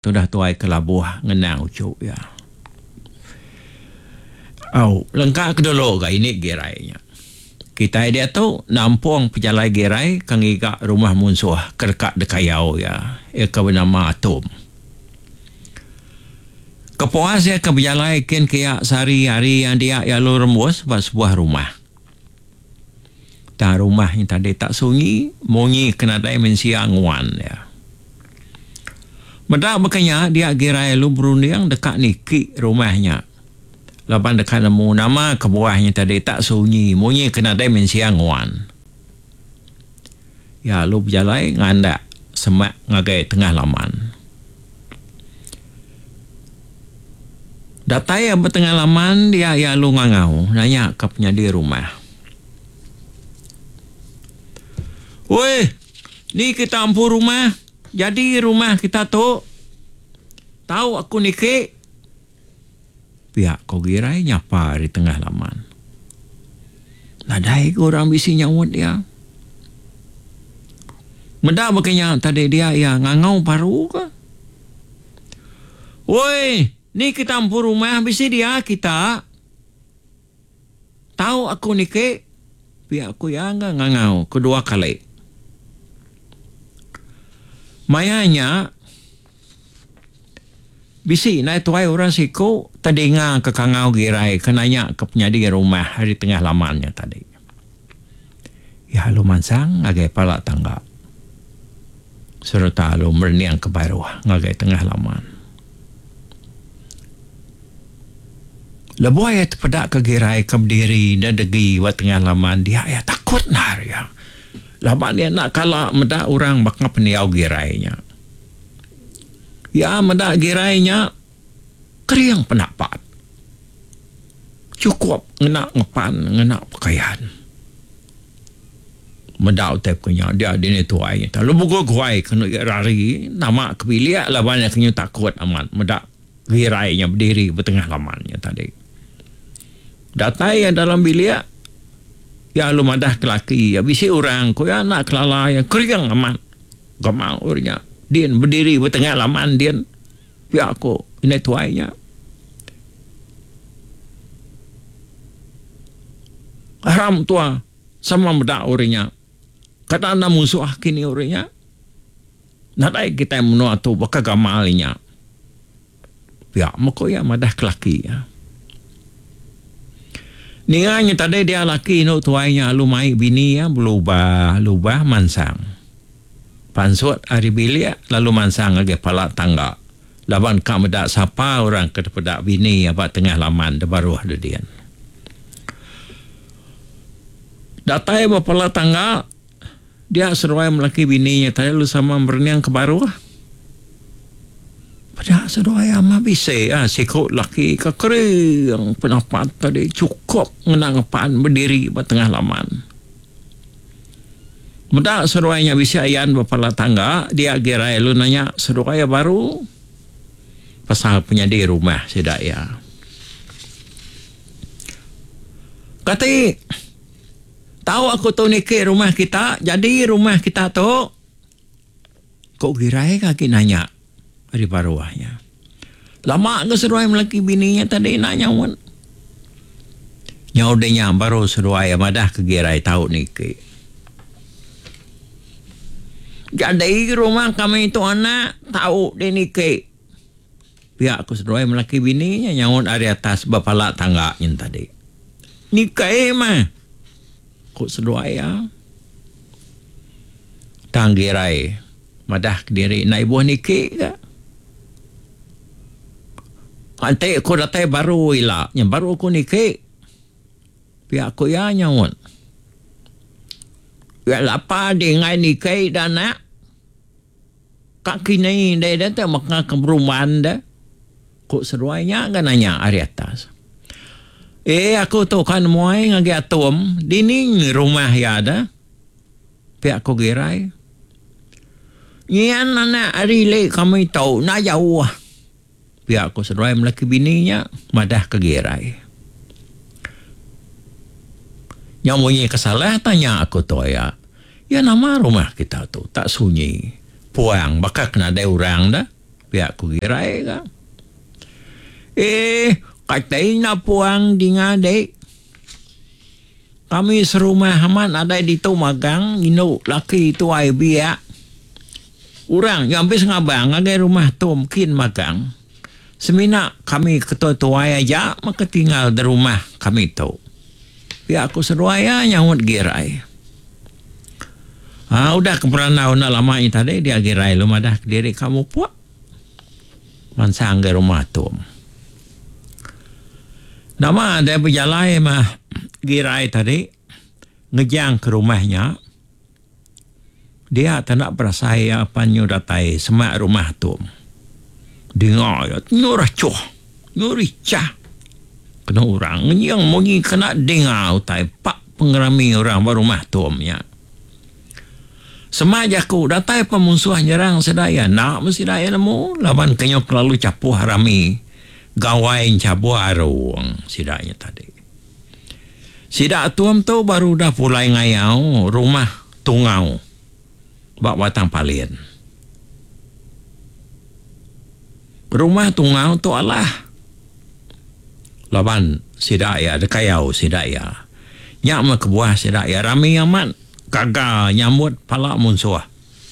Tudah tuai ke labuh ngenang uchu iya. Au, lengka ke dulu ga ini Girai nya. Kitai diatu nampung pejalai Girai ke ngiga rumah munsuh ke deka dikayau iya, iya ke benama Atum. Kepuas iya ke bejalai kin kiya sehari hari iya dia iya lalu rembus ba sebuah rumah. Tang rumah nya tadi tak sunyi munyi ke nadai mensia nguan iya. Meda baka nya dia Girai lalu berunding deka niki rumah nya laban deka nemu nama kebuah nya tadi tak sunyi munyi ke nadai mensia nguan. Iya lalu bejalai ngandak semak ngagai tengah laman. Datai iya ba tengah laman dia iya lalu ngangau nanya ka penyadi rumah. Oi, ni kita empu rumah, jadi rumah kita tu. Tau aku niki. Pia ko Girai nyapa ari tengah laman. Nadai ga orang bisi nyaut iya. Meda baka nya tadi dia iya ngangau baru ka. Oi, ni kita empu rumah bisi dia kita. Tau aku niki, pia ku iya ga ngangau kedua kali. Maya nya. Bisi indai tuai orang siku tedinga ke kangau girai ke nanya ke penyadi rumah ari tengah laman nya tadi. Iya lalu mansang ngagai pala tangga sereta lalu merening ke baruh ngagai tengah laman. Lebuh iya tepeda ke girai ke bediri dedegi ba tengah laman dia iya takut endar iya laban iya enda kala meda orang baka pendiau girai nya. Iya meda girai nya kering penapat. Chukup ngena ngepan ngena pekayan. Meda utai ku nya dia dini tuai nya lalu beguai-guai kenu iya rari nama ke bilik laban iya ke nyu takut amat meda girai nya bediri ba tengah laman nya tadi. Datai iya dalam bilik iya lalu madah ke laki iya bisi orang ku iya enda kelala iya kering amat. Gamal orang nya din bediri ba tengah laman din pia ko indai tuai nya. Aram tua sama meda orang nya. Kada enda musuh kini orang nya. Nadai kitai menua tu baka gamal inya. Pia meh ko iya madah ke laki iya. Ninga nya tadi dia laki indu tuai nya lalu mai bini iya belubah lubah mansang. Pansut ari bilik lalu mansang ngagai pala tangga laban ka meda sapa orang ke dipeda bini iya ba tengah laman da baruh dedin. Datai ba pala tangga Dia seduai melaki bini nya tadi lalu sama merening ke baruh. Peda seduai ama bisi ah siku laki ke kering penapat tadi chukup ngena ngepan bediri ba tengah laman. Meda seduai nya bisi ayan ba pala tangga dia girai lalu nanya seduai iya baru pasal penyadi rumah sida iya. Kati. Tau aku tu niki rumah kita, jadi rumah kita tu, ku Girai ke agi nanya ari baruh nya. Lama ke seduai melaki bini nya tadi enda nyaut. Nyau deh nya baru seduai madah ke Girai tau niki. Jadi rumah kami tu anak tau deh niki. Pia ku seduai melaki bini nya nyaut ari atas ba pala tangga nyin tadi. Nikai meh, ku seduai iya. Tang Girai madah kediri enda ibuh niki ga. Enti ku datai baru ila nya baru ku niki, pia ku iya nyaut. Iya lapa dih enggai niki da anak. Ka kini indai deh te meka ke berumban deh? Ku seduai nya ga nanya ari atas. Eh aku tu ka nemuai ngagai Atum dini rumah iya deh? Pia ku Girai. Nyian anak ari ili kami tu enda jauh. Pia ku seduai melaki bini nya madah ke Girai. Nya munyi ke salah tanya aku tu aya. Iya nama rumah kita tu tak sunyi puang baka ke nadai orang da. Pia ku Girai ga. Eh, kati enda puang dinga dik. Kami serumah amat nadai ditu magang indu laki tuai biak. Orang nya ambis ngabang ngagai rumah Tom kin magang. Semina kami ketuai tuai aja meh ke tinggal di rumah kami tu. Pia ku seduai iya nyaut Girai. Haa udah ke berandau enda lama nya tadi dia Girai lalu madah kediri ka mupuk mansang ngagai rumah Tom. Nama deh bejalai mah Girai tadi ngejang ke rumah nya. Dia tanda berasai iya pan nyu datai semak rumah tu. Dinga iya nyu rachuh, nyu richah kena orang ngenying munyi kena dinga utai pak pengerami orang ba rumah tu nya. Sema jaku datai pa munsuh nyerang sida iya enda meh sida iya nemu laban ke nyu kelalu chapuh rami gawai enchabuh arung sida nya tadi. Sida atum tu baru udah pulai ngayau rumah Tungau ba Batang Palin. Rumah Tungau tu alah laban sida iya dikayau sida iya. Nya meh kebuah sida iya rami amat gaga nyambut pala munsuh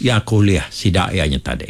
iya ke ulih sida iya nya tadi.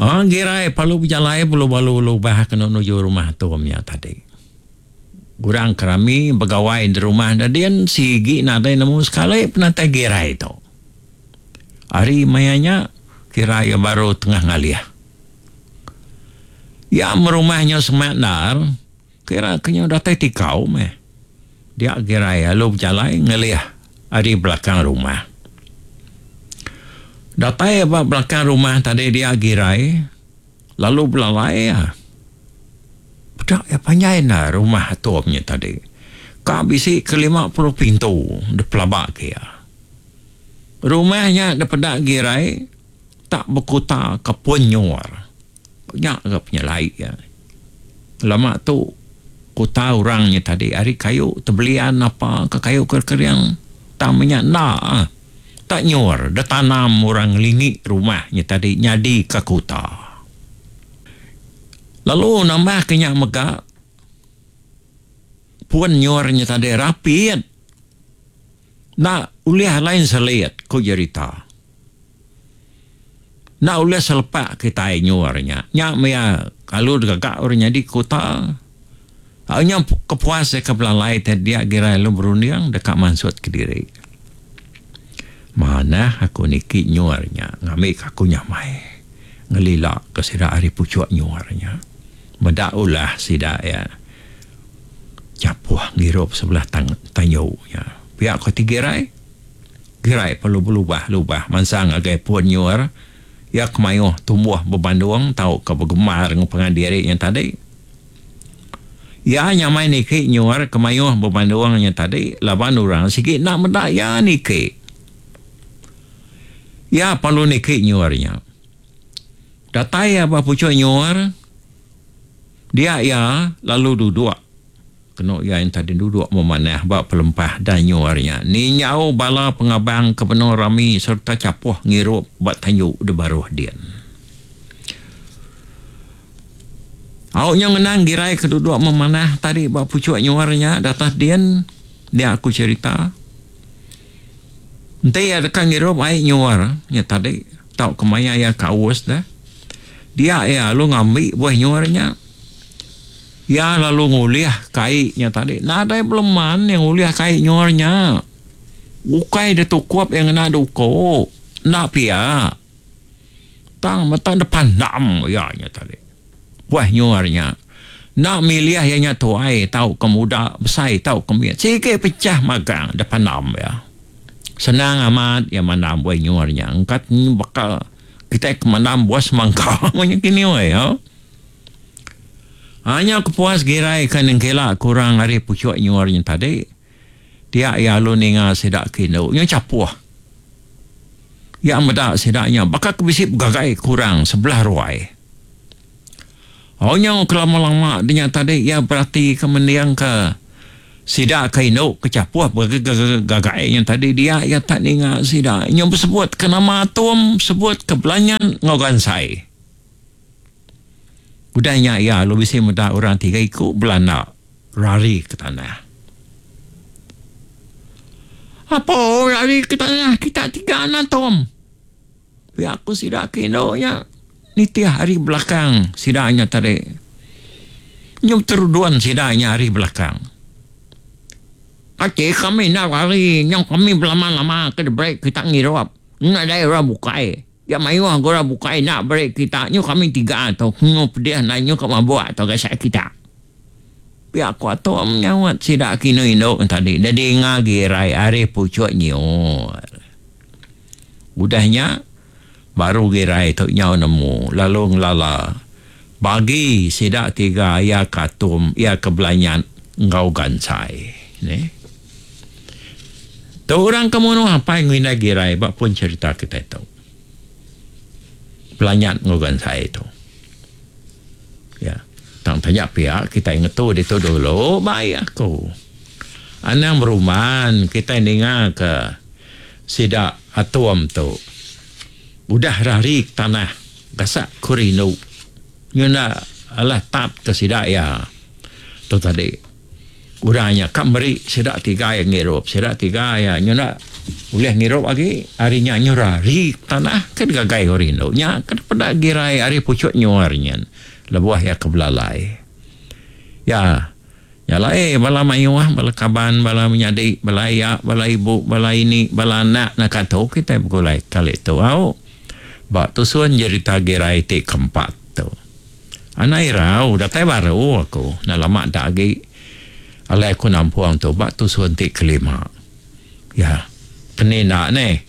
Orang girai perlu bejalai perlu balu lubah kena nuju rumah atum nya tadi. Orang ke rami begawai di rumah da din sigi nadai nemu sekali penatai girai tu. Ari maya nya kira iya baru tengah ngalih. Iya merumah nya semak endar kira ke nya datai tikau meh. Dia girai lalu bejalai ngelih ari belakang rumah. Datai ba belakang rumah tadi dia girai lalu belalai iya. Peda iya panjai enda rumah atum nya tadi. Ka bisi ke 50 pintu dipelaba ke iya. Rumah nya dipeda girai tak bekuta ke pun nyur. Nya ga penyelai iya. Lama tu kuta orang nya tadi ari kayu tebelian apa ke kayu ke kering tang meh nya enda ah. Tak nyur da tanam orang ngelingi rumah nya tadi nyadi ka kuta. Lalu nambah ke nya mega pun nyur nya tadi rapit enda ulih lain selit ku jerita. Enda ulih selepak kitai nyuar nya. Nya maya kalu digaga orang nyadi kuta. Au nya kepuas iya ke belalai ti dia gira lalu berunding deka mansut kediri. Manah aku niki nyuar nya ngambika aku nyamai ngelila ke sida ari puchuk nyuar nya. Meda ulah sida iya chapuh ngirup sebelah tanyu nya. Pia ko ti girai. Gerai perlu belubah-lubah mansang ngagai pun nyur iya ke mayuh tumbuh bebandung tauka begembar enggau pangan diri nya tadi. Iya nyamai niki nyur ke mayuh bebandung nya tadi laban orang sigi enda meda iya niki. Iya perlu niki nyur nya. Datai iya ba puchuk nyur dia iya lalu duduk. Kenu iya enta diduduk memanah ba pelempah danyu ari nya ninjau bala pengabang ke benung rami sereta chapuh ngirup ba tanju di baruh din. Au nya ngenang girai ke duduk memanah tadi ba puchuk nyuar nya datas din dia aku cherita. Enti iya deka ngirup ai nyuar nya tadi tauka maya iya ke aus deh dia iya lalu ngambi buah nyuar nya. Iya lalu ngulih kai nya tadi. Nadai beleman iya ngulih kai nyuar nya. Ukai ditukup iya ngena duku. Enda pia. Tang meta depandam iya nya tadi. Buah nyuar nya. Enda milih iya nya tuai tauka muda, besai tauka mit. Sigi pechah magang depandam iya. Senang amat iya mandam buah nyuar nya. Engka baka kitai ke mandam buah semangka nya kini weh. Nya kepuas girai ke nengkila kurang ari puchuk nyuar nya tadi, dia iya lalu ninga sida ke indu nya chapuh. Iya meda sida nya baka ke bisi begagai kurang sebelah ruai. Au nyau kelama-lama dinya tadi iya beratika mendingka. Sida ke indu ke chapuh begegagai nya tadi dia iya tak ninga sida nyu besebut ke nama atum sebut ke belanyan enggau gansai. Udah nya iya lalu bisi meda orang tiga iku belanda rari ke tanah. Apo rari ke tanah kita tiga anak Tom? Pia ku sida ke indu nya nitih ari belakang sida nya tadi. Nyau terudun sida nya ari belakang. Ati kami enda lari nyau kami belama-lama ke diberi kita ngirup. Nadai orang bukai. Ya mayuh ga orang bukai enda beri kita nyau kami tiga tu nyu pedih enda nyu ka mabuk tu gasak kita. Pia ku atuk nyaut sida ke indu-indu tadi dedinga girai ari puchuk nyiur. Udah nya, baru Girai tu nyau nemu lalu ngelala bagi sida tiga iya ke atum, iya ke belanyat enggau gansai. Neh. Tu orang ke munuh apai enggau indai Girai ba pun cherita kitai tu. Belanyat enggau gansai tu. Ya. Tang taja pia kitai ngetu ditu dulu bai aku. Anang berumban kitai ninga ke Sida atum tu udah rari ke tanah gasak ku rindu ngena alah tap ke sida iya tu tadi. Orang nya ka meri sida tiga iya ngirup sida tiga iya nyuna ulih ngirup agi ari nya nyu rari ke tanah ke digagai ku rindu nya ke peda girai ari puchuk nyuar nyin lebuh iya ke belalai. Ya. Nya alai bala mayuh, bala kaban, bala menyadi, bala aya, bala ibu, bala ini, bala anak naka tu kitai begulai kali tu au ba tusun jerita Girai ti keempat tu. Anak irau datai baru aku enda lama da agi alai aku nampung tu ba tusun ti kelima. Ya, keni enda neh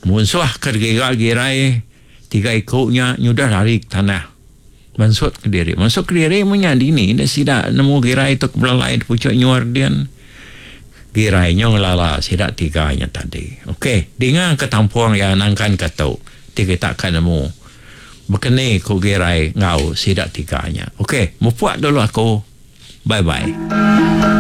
munsuh ke digiga Girai tiga iku nya nyudah lari ke tanah. Mansut kediri. Mansut kediri meh nya dini deh sida nemu girai tu ke belalai di puchok nyuar din. Girai nyu ngelala sida tiga nya tadi. Ok, dinga ke tampung iya nangkan ke tu ti kita ka nemu bekeni ku girai enggau sida tiga nya. Ok, mupuk dulu aku. Bye bye.